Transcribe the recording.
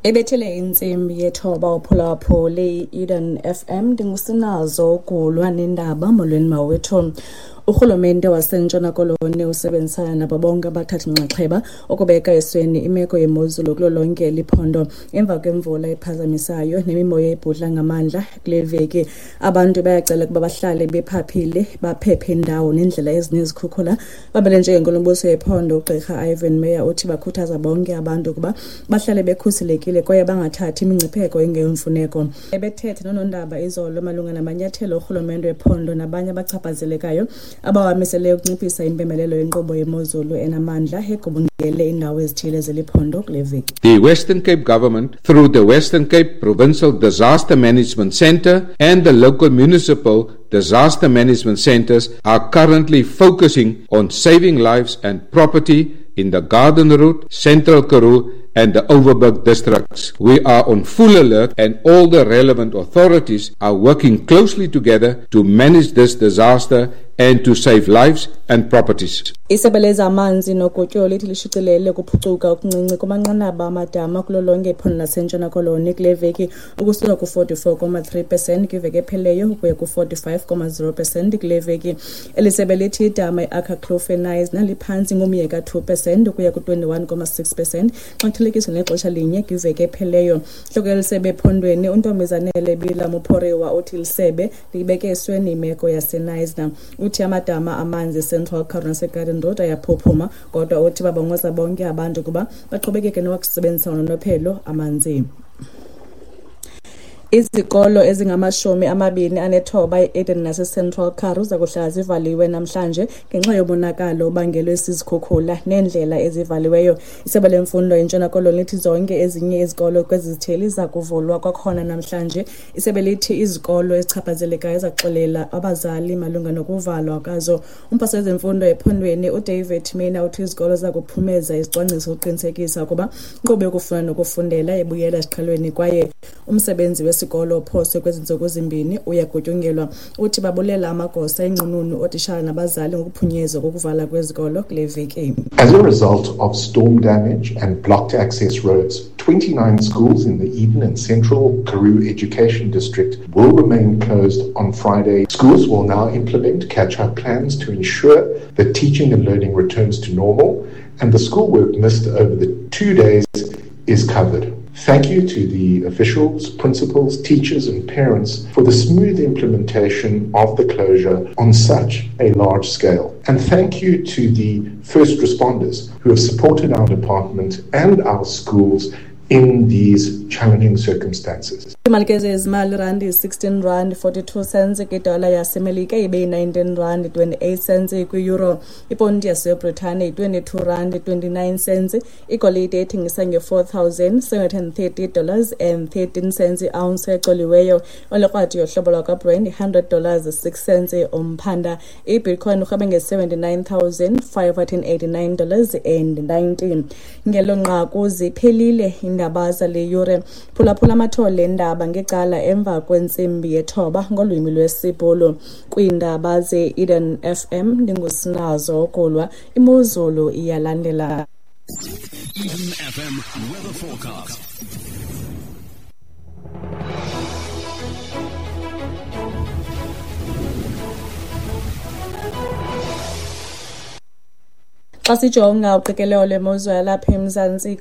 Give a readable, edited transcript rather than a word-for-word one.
Ebethele intsimbi yethoba uphulaphuli i-Eden FM, ndinguSinazo ugulwa nendaba. Molweni mawethu. Urhulumente waseNtshona Koloni usebenzisana nabo bonke abathathi nxaxheba ukubeka esweni imeko yemozulu kulo lonke liphondo emva kwemvula ephazamisayo nemimoya ebhudla ngamandla kule veki. Abantu bayacela ukuba bahlale bephaphile, baphephe indawo neendlela ezinezikhukhula. Babele njengenkulumbuso yephondo uGqirha Ivan Meyer uthi bakhuthaza bonke abantu ukuba bahlale bekhuselekile kwaye bangathathi imingcipheko engeyomfuneko. Ebethetha noonondaba izolo malunga namanyathelo orhulumente wephondo nabanye abachaphazelekayo abawamiseleyo ukunciphisa impembelelo yenkqubo yemozulu enamandla egubungele iindawo ezithile zeli phondo kule veki. The Western Cape government, through the Western Cape Provincial Disaster Management Centre and the local municipal disaster management centres, are currently focusing on saving lives and property in the Garden Route, Central Karoo and the Overberg districts. We are on full alert and all the relevant authorities are working closely together to manage this disaster and to save lives and properties. Isebe lezamanzi nogutyulo lithi lishicilele ukuphucuka okuncinci kumanqanaba amadama kulo lonke iphondo laseNtshona Koloni kule veki, ukusuka ku-44,3 percent kwiveki ephelileyo ukuya ku-45,0 percent kule veki. Eli sebe lithi idama i-Akkerkloof eKnysna naliphantsi ngomyeka 2 percent ukuya ku-21,6 percent xa kuthelekiswa nexesha linye kwiveki ephelileyo. Intloko yeli sebe ephondweni uNtombizanele Bila Muphoriwa uthi lisebe liyibeke esweni imeko yaseKnysna. Uthi amadama amanzi eCentral Karoo naseGarden Road ayaphuphuma, kodwa uthi babongoza bonke abantu ukuba baqhubekeke nokusebenzisa ngononophelo amanzi. Izikolo ezingama-29 e-Eden naseCentral Karoo zakuhlala zivaliwe namhlanje ngenxa yomonakalo obangelwe zizikhukhula neendlela ezivaliweyo. Isebe lemfundo eNtshona Koloni lithi zonke ezinye izikolo kwezi zithili zakuvulwa kwakhona namhlanje. Isebe lithi izikolo ezichaphazelekayo zaxelela abazali malunga nokuvalwa kwazo. Umphathiswa wezemfundo ephondweni uDavid Mina uthi izikolo zakuphumeza izicwangciso ukuqinisekisa ukuba inkqubo yokufunda nokufundela ibuyela esiqhelweni kwaye umsebenzi wesikolo ophoswe kwezi ntsuku zimbini uyagutyungelwa. Uthi babulela amagosa, iinqununu, ootitshala nabazali ngokuphunyezwa kokuvala kwezikolo kule veki. As a result of storm damage and blocked access roads, 29 schools in the Eden and Central Karoo Education District will remain closed on Friday. Schools will now implement catch-up plans to ensure that teaching and learning returns to normal and the schoolwork missed over the 2 days is covered. Thank you to the officials, principals, teachers, and parents for the smooth implementation of the closure on such a large scale. And thank you to the first responders who have supported our department and our schools in these challenging circumstances. Imali ke zezimali, randi 16 rand 42 cents kwidola yaseMelika, ibe yi-19 rand 28 cents kwi-euro. Iponti yaseBritane yi-22 rand 29 cents. Igolide ethengisa nge-$4,730 dollars and 13 cents i-ounce ecoliweyo. Olekrwada yohlobo lwakwaBrent i-100 dollars 6 cents umphanda. Ibitcoin urhwebe nge-$79,589 dollars and 19. Ngelo nqaku ziphelile iindaba zale yure. Phulaphula amathole endaba ngecala emva kwentsimbi yethoba ngolwimi lwesiBhulu. Kwiindaba ze-Eden FM, ndinguSinazo Okulwa. Imozulu iyalandela. Eden FM weather forecast. Xa sijonga uqikelelo lwemozulu yalapha eMzantsi.